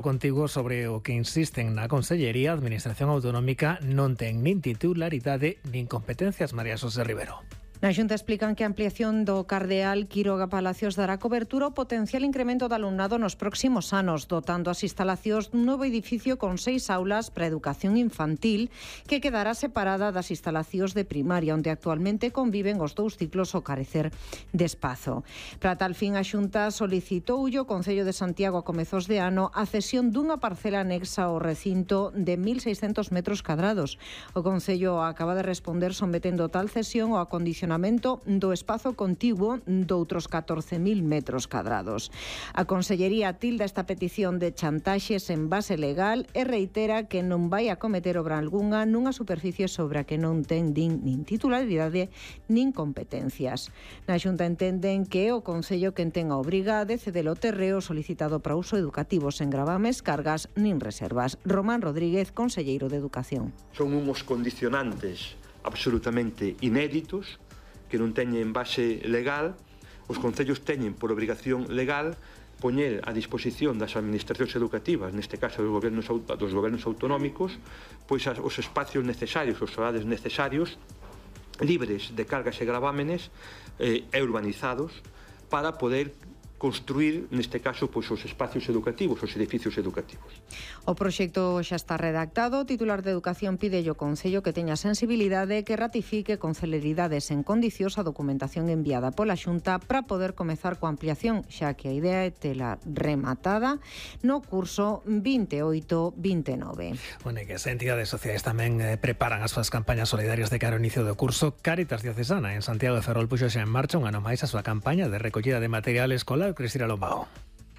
Contigo sobre o que insisten na Consellería, a Administración Autonómica non ten nin titularidade nin competencias. María Xosé Rivero. Na Xunta explican que a ampliación do Cardeal Quiroga Palacios dará cobertura ao potencial incremento de alumnado nos próximos anos, dotando as instalacións dun novo edificio con 6 aulas para educación infantil que quedará separada das instalacións de primaria, onde actualmente conviven os dous ciclos ao carecer de espazo. Para tal fin, a Xunta solicitou o Concello de Santiago a comezos de ano a cesión dunha parcela anexa ao recinto de 1.600 metros cadrados. O Concello acaba de responder sometendo tal cesión ao acondicionamento do espazo contiguo doutros 14.000 metros cadrados. A Consellería tilda esta petición de chantaxes en base legal e reitera que non vai a cometer obra algunha nunha superficie sobre a que non ten nin titularidade nin competencias. Na Xunta entenden que é o Concello quen ten a obriga de ceder o terreo solicitado para uso educativo sen gravames, cargas nin reservas. Román Rodríguez, conselleiro de Educación. Son uns condicionantes absolutamente inéditos que non teñen base legal. Os concellos teñen por obrigación legal poñer a disposición das administracións educativas, neste caso dos gobernos autonómicos, pois os espacios necesarios, os solares necesarios, libres de cargas e gravámenes e urbanizados, para poder construir, neste caso, pois os espacios educativos, os edificios educativos. O proxecto xa está redactado. O titular de Educación pide ao Concello que teña sensibilidade, que ratifique con celeridade sen condicións a documentación enviada pola Xunta para poder comezar coa ampliación, xa que a idea é tela rematada no curso 28-29. Bueno, e que as entidades sociais tamén preparan as súas campañas solidarias de cara ao inicio do curso. Cáritas Diocesana en Santiago de Ferrol puxo xa en marcha un ano máis a súa campaña de recollida de material escolar. Cristina Lombao.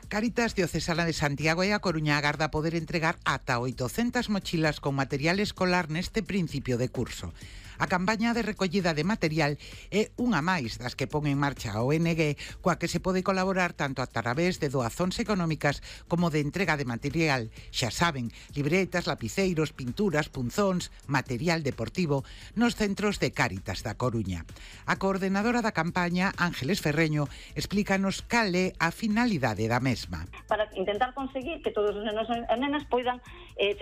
Cáritas Diocesana de Santiago e a Coruña agarda poder entregar ata 800 mochilas con material escolar neste principio de curso. A campaña de recollida de material é unha máis das que pon en marcha a ONG, coa que se pode colaborar tanto a través de doazóns económicas como de entrega de material. Xa saben, libretas, lapiceiros, pinturas, punzóns, material deportivo nos centros de Cáritas da Coruña. A coordenadora da campaña, Ángeles Ferreño, explícanos cal é a finalidade da mesma. Para intentar conseguir que todos os nenos e nenas poidan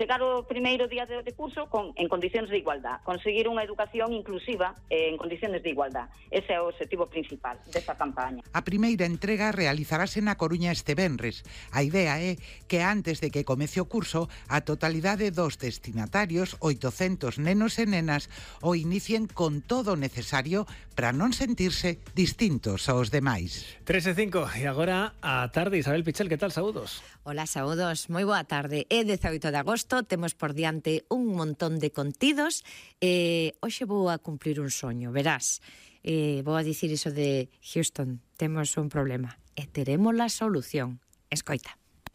chegar o primeiro día de curso en condicións de igualdad, conseguir unha educación inclusiva en condiciones de igualdad. Ese é o objetivo principal desta campaña. A primeira entrega realizarase na Coruña este venres. A idea é que antes de que comece o curso, a totalidade dos destinatarios, 800 nenos e nenas, o inicien con todo o necesario para non sentirse distintos aos demais. 3:05 e agora a tarde. Isabel Pichel, que tal? Saúdos. Hola, saúdos. Moi boa tarde. É 18 de agosto, temos por diante un montón de contidos. Hoxe vou a cumplir un soño, verás. Vou a dicir iso de Houston, temos un problema e teremos a solución. Escoita.